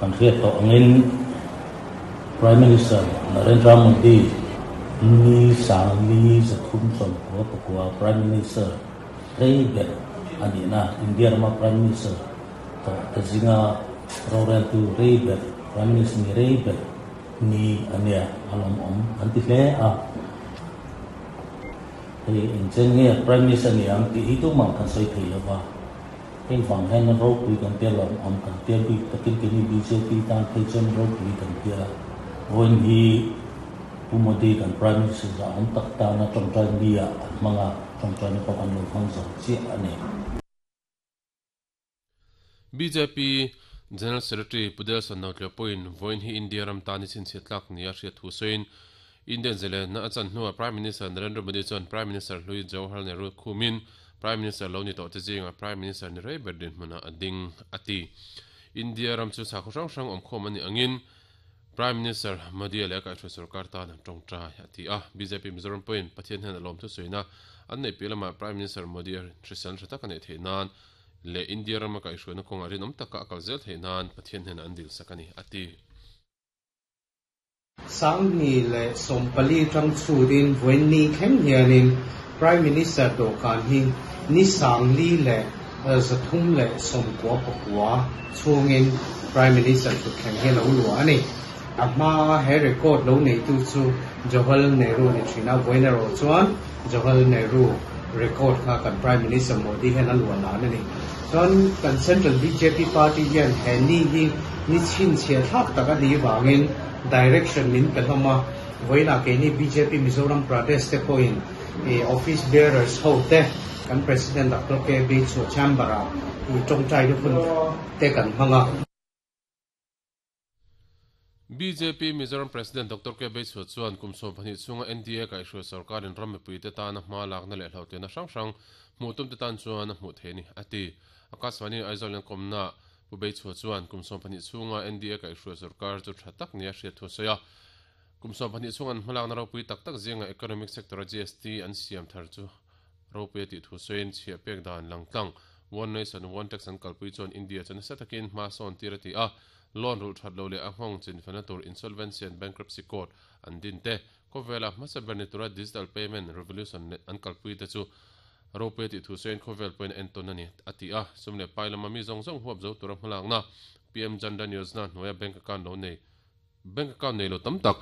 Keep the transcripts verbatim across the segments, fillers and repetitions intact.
Kan hriat tawh angin Prime Minister Narendra Modi ni sangli zathum sawmkua pakua Prime Minister rei ber ani na India rama Prime Minister tawh te zinga roreltu rei ber Prime Minister ni rei ber ni ania alawm awm an ti hle a hei engchen nge Prime Minister ni ang tih hi tumah kan sawi thei lova heng vang hian ropui kan tia lawm awm kan tia bik takin keini B J P tan phei chuan ropui kan tia vawiin hi Pu Modi kan Prime Minister za awm tak tana tawngtai ni ah an hmang a tawngtai na pawh kan lo hmang zo chiah a ni. B J P General Secretary Pudelson Notleo pawhin vawiin hi India ram tan i chhinchhiat tlak nia hriat thu sawiin Indian zalen na a chan hnuah Prime Minister Narendra Modi chuan Prime Minister hlui Jawaharlal Nehru khumin Prime Minister lo ni tawh te zinga Prime Minister ni rei ber dinhmunah a ding a ti. India ram chu sakhaw hrang hrang awm khawm a nih angin Prime Minister Modi leh a kaihhruai sarkar tan an tawngtai a ti a. B J P Mizoram pawhin Pathian hian a lawm thusawiina an neih piah lamah Prime Minister Modi a hrisel tha tak a neih theih nan leh India rama kaihhruaina kawngah rinawm taka a kal zel theih nan Pathian hian an dil sak a ni a ti. Sangni leh sawmpali tang chhutin vawiin thleng hianin Prime Minister dawhkan hi ni sangli leh zathum leh sawmkua pakua chhungin Prime Minister thutthleng hi lo luah a ni. A hma he record lo neitu chu Jawaharlal Nehru ni thin a, vawiin erawh chuan Jawaharlal Nehru record kha kan Prime Minister Modi hian a luah lan a ni. Chuan kan Central B J P Party hian he ni hi ni chhinchhiah thlak tak a nih vangin direction min pe hlawm a, vawiinah keini B J P Mizoram Pradesh te pawhin office bearers ho te kan President Doctor K B chu chamber ah tawngtai na hun te kan hmang a. B J P Mizoram President Doctor K B Chu chuan kum sawm pahnih chhunga N D A kaihhruai sarkarin ram mipui te tana hma lakna leh hlauhtianna hrang hrang hmuh tum te tan chuan a hmuh thei a ni a ti. Akashvani Aizawl in kawmna Pu Bei Chu chuan kum sawm pahnih chhunga N D A kaihhruai sarkar chu tha tak nia hriat thu a sawi a. Kum sawm pahnih chhunga an hmalakna ropui tak tak zinga economic sector a G S T an siam thar chu ropui a tih thu sawiin chhiah pek dan langtlang One Nation One Tax an kalpui chuan India chu nasa takin hma sawn tir a ti a. Loan rul that lo leh a nghawng chinfena tur Insolvency and Bankruptcy Code an din te, khawvela hmasa ber ni tura digital payment revolution an kalpui te chu ropui a tih thu sawiin khawvel pawhin a entawn a ni a ti a. Sum leh pai lama mi zawng zawng huap zo tura hmalakna P M Jan Dhan Yojana hnuaia bank account lo nei bank account nei lo tam tak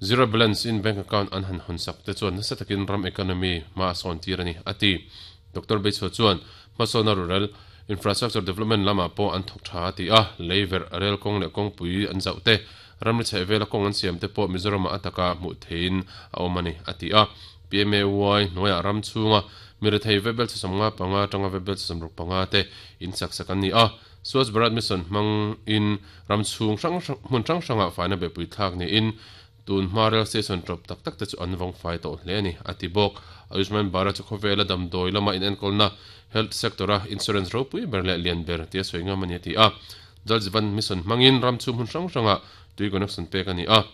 zero balance in bank account an han hawn sak te chuan nasa takin ram economy hma a sawn tir a ni a ti. Doctor Beichhua chuan hmasawna rural infrastructure development lamah pawh an thawk tha a ti a, lei verh rel kawng leh kawngpui an zauh te, ramri chheh vela kawng an siam te pawh Mizoramah a taka hmuh theiin a awm a ni a ti a. P M A Y hnuaiah ram chhunga mirethei vebel chhasawm nga panga atanga vebel chhasawm ruk panga te in sak sak an ni a. Swachh Bharat Mission hmangin ram chhung hrang hmun hrang hrangah faina behpui thlak niin tun hma rail station tawp tak tak te chu an vawng fai tawh hle a ni a ti bawk. Ayushman Bharat chu khawvela damdawi lama inenkawlna health sector a insurance ropui ber leh lian ber tia sawi ngam a ni a ti a. Jal Jeevan Mission hmangin ram chhung hmun hrang hrangah tui connection pek a ni a,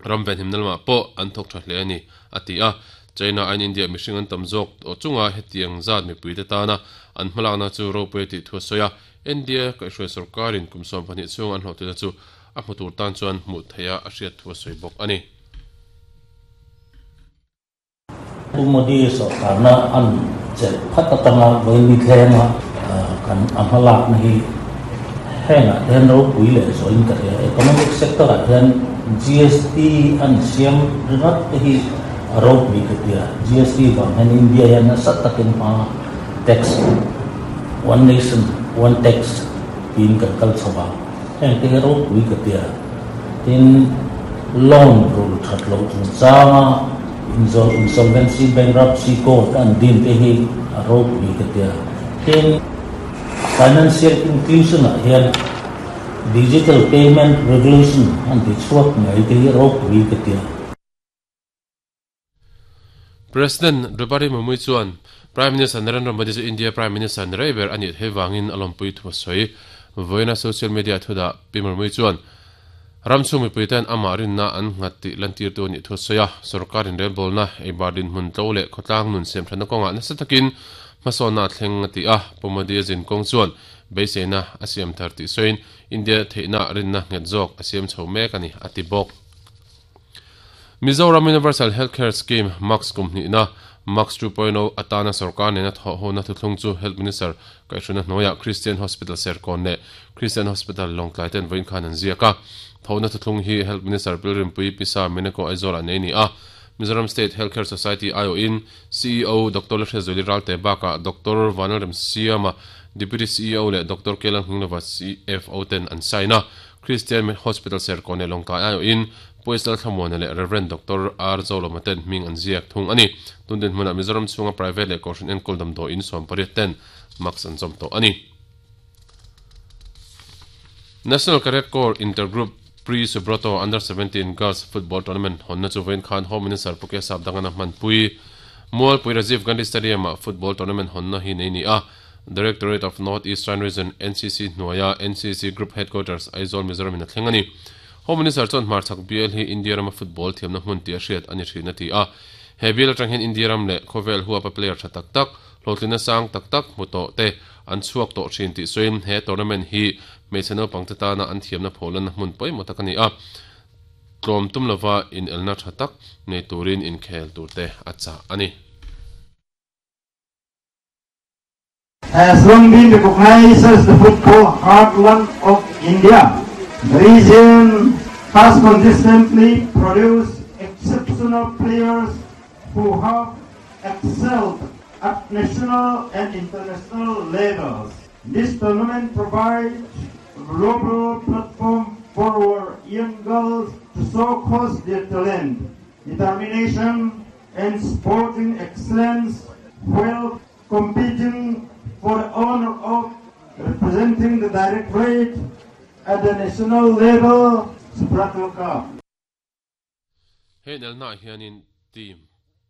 ram venhimna lamah pawh an thawk tha hle a ni a ti a. China aiin India mihring an tam zawk tawh chunga hetiang zat mipuite tana an hmalakna chu ropui a tih thu a sawi a. India kaihhruai sarkarin kum sawm pahnih chhung an hlawhtlina chu a hmu tur tan chuan hmuh theih a a hriat thu a sawi bawk a ni. Pu Modi sarkarna an chelh phat atanga vawiin ni thlenga kan a hmalakna hi hengah te hian ropui leh zawhin ka hria. Economic sector ah hian G S T an siam ringawt te hi a ropui ka tia. G S T vang hian India hian nasa takin hma tax one nation one tax tiin kan kal chho a, heng te hi ropui ka tia. Tin loan rul that lo chungchanga insolvency bankruptcy code an din te hi a ropui ka tia. Tin financial inclusion ah hian digital payment revolution an ti chhuak ngei te hi ropui ka tia. President Draupadi Murmu chuan Prime Minister Narendra Modi chu India Prime Minister ni rei ber a nih theih vangin a lawmpui thu a sawi. Vawiina social media thudah Pi Murmu chuan ram chhung mipuiten amah rinna an nghat tih lantirtu a nih thu a sawi a. Sarkarin relbawlna eibar dinhmun tlo leh khawtlang nun siam thatna kawngah nasa takin hmasawnna a thleng a ti a. Pu Modi a zin kawng chuan beiseina a siam thar tih sawiin India theihna rinna nghet zawk a siam chho mek a ni a ti bawk. Mizoram Universal Healthcare Scheme Max kum hnihna Max two point oh atana sarkar nena thaw hona thuthlung chu Health Minister Kaihhruna hnuaiah Christian Hospital Serkawn leh Christian Hospital Lawngtlai ten vawiin khan an ziak a. Thawhna thuthlung hi Health Minister Pilrimpui Pisa Meneko Aizawl ah nei ni a. Mizoram State Healthcare Society I O in C E O Doctor Lalhriatzuali Ralte bakah Doctor Vanlalrem Siama Deputy C E O leh Doctor Kelang Hminglova C F O ten an sign a. Christian Hospital Serkawn leh Lawngtlai I O in Puaisal Thlamuana leh Reverend Doctor R Zolawma ten hming an ziak thung a ni. Tundin hmunah Mizoram chhunga private leh kohhran enkawl damdawi in sawm pariat ten max an zawm tawh a ni. National Cadet Corps Intergroup Pre-Subroto Under seventeen Girls Football Tournament hawnna chu vawiin khan Home Minister Puke Sapdangana hmanpui Mualpui Rajiv Gandhi Stadium-ah football tournament hawnna hi nei ni a. Directorate of North Eastern Region N C C hnuaia N C C Group Headquarters Aizawl Mizoram in a thleng a ni. Home Minister chuan hmarchhak B L hi India rama football thiamna hmun tih a hriat a ni thin a ti a. He bial atang hian India ram leh khawvel huapa player tha tak tak, hlawhtlina sang tak tak hmu tawh te an chhuak tawh thin tih sawiin he tournament hi hmeichhe naupang te tana an thiamna phawhlanna hmun pawimawh tak a ni a. Tlawm tum lova inelna tha tak nei turin inkhel tur te a chah a ni. Has long been recognized as the football heartland of India. The region has consistently produced exceptional players who have excelled at national and international levels. This tournament provides a global platform for our young girls to showcase their talent, determination, and sporting excellence while competing for the honor of representing the Directorate at the national level Subroto Cup. He nelna hianin team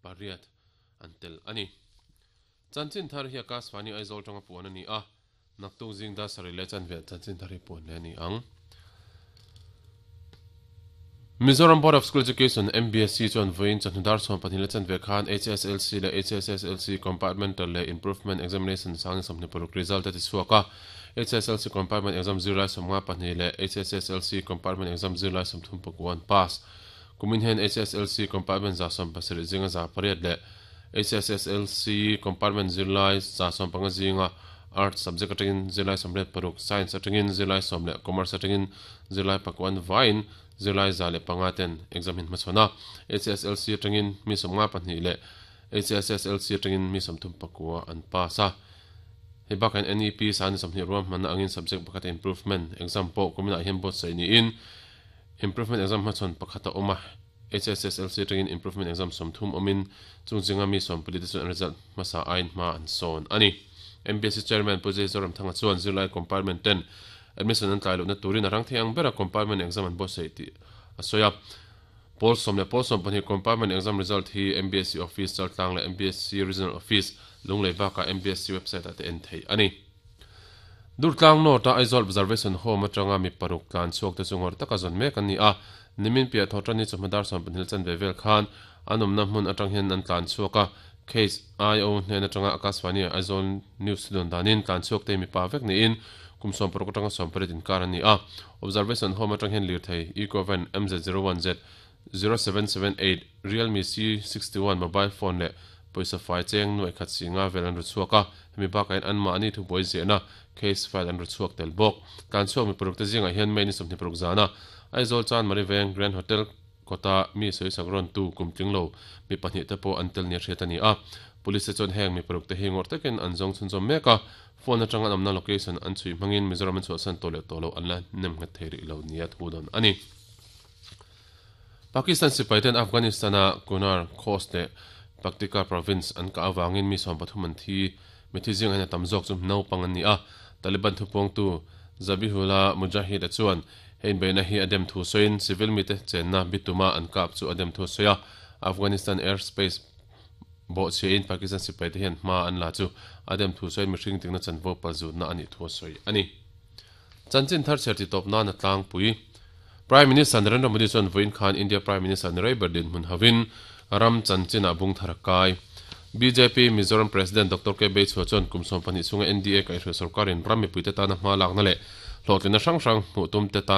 pariat an tel ani. Chanchin thar hi Akashvani Aizawl tanga puan ani a. Naktuk zing da sari le chan vel chanchin thar hi puan le ani ang. Mizoram Board of School Education M B S C chuan vawiin chawhnu dar sawm pahnih le chan ve khan H S L C leh H S S L C Compartmental leh Improvement Examination sang sawmhnih paruk result a ti chhuak a. H S L C Compartment Exam zirlai sawmnga pahnih leh H S S L C Compartment Exam zirlai sawmthum pakuan pass. Kumin hian H S L C Compartment za sawm pasarih zinga za pariat leh H S S L C Compartment zirlai za sawm panga zinga Arts subject atangin zirlai sawmriat paruk, Science atangin zirlai sawm leh Commerce atangin zirlai pakuan vain zirlai za leh panga ten exam hin hmachhawn a. H S L C atangin mi sawmnga pahnih leh H S S L C atangin mi sawmthum pakua an pass a. Hei bakah N E P san sawmhnih ruam hmanna angin subject pakhat improvement exam pawh kuminah hian buatsaih niin improvement exam hmachhawn pakhat a awm a. H S S L C atangin improvement exam sawmthum awmin chung zinga mi sawmpali te chuan result hmasa ain hma an sawn a ni. M B S C Chairman Pu Zoram Thanga chuan zirlai compartment ten admission an tlai lohna turin a rang thei ang bera compartment exam an buatsaih tih a sawi a. Pawl sawm leh pawl sawm pahnih compartment exam result hi M B S C office Chaltlang leh M B S C Regional Office Lunglei bakah M B S C website ah te en thei a ni. Durtlang North a Aizawl Observation Home atanga mi paruk tlan chhuak te chu ngawr taka zawn mek an ni a. Nimin piah thawhtan ni chawhma dar sawm pahnih chan ve vel khan an awmna hmun atang hian an tlan chhuak a. Case I O hnen atanga Akashvani Aizawl News don danin tlan chhuak te mi pa vek niin kum sawm paruk atanga sawm pariat inkar an ni a. Observation Home atang hian lir thei Ecovan M Z zero one Z zero seven seven eight Realme C sixty-one mobile phone leh pawisa fai cheng nuai khat singa vel an ru chhuak a. Hemi bakah hian an mahni thu buai zehna case file an ru chhuak tel bawk. Tlan chhuak mi paruk te zingah hian May ni sawmhnih paruk zana Aizawl Chan Mariveng Grand Hotel kota mi sawi sak rawn tu kum tling lo mi pahnih te pawh an tel ni hriat a ni a. Police te chuan heng mi paruk te hi ngawr takin an zawng chhunzawm mek a. Phone atanga an awmna location an chhui hmangin Mizoram an chhuahsan tawh leh tawh lo an la nem nghet thei rih lo nia thu dawn a ni. Pakistan sipai ten Afghanistan-a Kunar Khost leh Paktika province an ka awangin mi sawm pathum an thi mi thi zingah hian a tam zawk chu naupang an ni a. Taliban thupawngtu Zabihullah Mujahid a chuan hein beina hi a dem thu sawiin civil mi te chenna bituma an kap chu a dem thu sawi a. Afghanistan airspace bawh chhiain Pakistan sipai te hian hma an la chu a dem thu sawiin mihring tingna chanvo palzutna a nih thu sawi a ni. Chanchin thar chher ti tawp nan a tlangpui Prime Minister Narendra Modi chuan vawiin khan India Prime Minister Narendra Berdin hmun hawin ram chanchin a bung thar kai. B J P Mizoram President Doctor K Beichhua chuan kum sawm pahnih chhunga N D A kaihhruai sorkarin ram mipuite tana hma lakna leh hlawhtlinna hrang hrang hmuh tum te tan